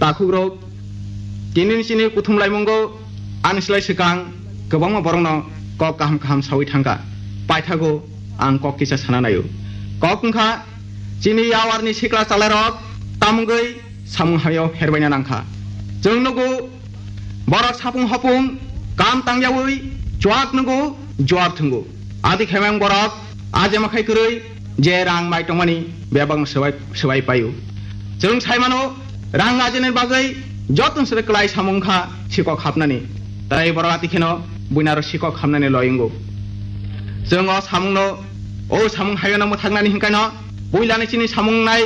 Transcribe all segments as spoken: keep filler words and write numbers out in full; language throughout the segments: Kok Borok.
takhukrok, tini chini kuthum laimungo ani slai swkang kwbangma borokno kok kaham kaham sawi thangkha. Paithago ang kok kisa sana naio. Kok wngkha chini yawarni sikla chalairok tamungwi samung hamyao pherbaina nangkha. Chwng nugo borok sapung hopung kam tangyawi chuak nugo juar thwngo. Adi khaimang borok ajema khai kwrwi je rang mai tongmani bebakno swbai, swbai paio. Chwng sai mano, rang ajeni bagwi joto se kwlai samung kha sikok hapnani. Tai borok ati kheno buinaro sikok hapnani loyungo. Chwng o samungno, o samung hayano mwthaknani hinkaino puilani chini samung nai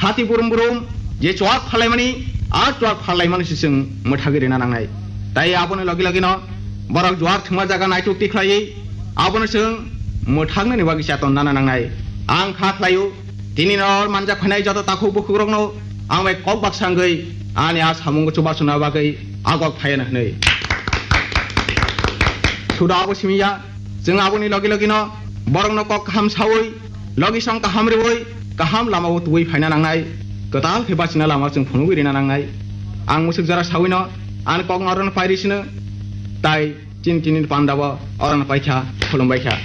hati burum burum je chuak phalaimani, a chuak phalaimani se chwng mwthagwi rina nangnai. Tai aboni logi logino borok juar thwngma jaga naituk tikhlaiwi abono chwng mwthaknani bagwi chaton nana nangnai. Ang kha khlaio, tini no manjak phainai joto takhuk bukhukrokno ang bai kok baksa wngwi ani a samungo chubachu na bagwi agok phaiya hwnwi. Suda abo simi ya, chwng aboni logi logino borokno kok kaham sawi, logi song kaham riwi, kaham lamao tubui phaina nangnai, kwtal khe bachina lama chwng phunugwi rina nangnai. Ang musuk jora sawino ani kokno orono pairi sino, tai chini chini pandabo orono paikha, khulumbaikha.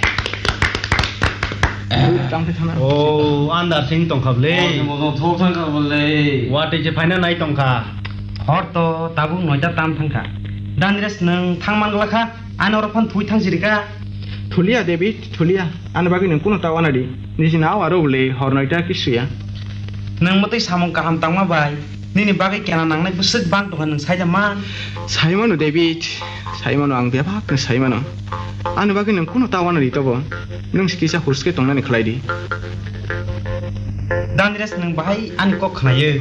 Tang khe thana. O, andar sing tongkha bwle. O, mono thok thang kha bwle. Watwi se phaina nai tongkha. Hor to tabuk noita tam thangkha. Danres nwng thangman glakha. Ani oro phano thwi thang sirika. Thulia, David, thulia. Ani bagwi nwng kunu ta wana di. Niji na aro le hor noita kisuya. Nwng mwtwi samung kaham tangma bai. Nini bagwi kena nangnai bwswk bang tongkha nwng saida man. Saimano, David. Saimano, ang bebak khe saimano. Ani bagwi nwng kunu ta wana di tobo. Nwng si kisa hurske tongnani khlai di. Danres nwng bahai ani kok khnayo.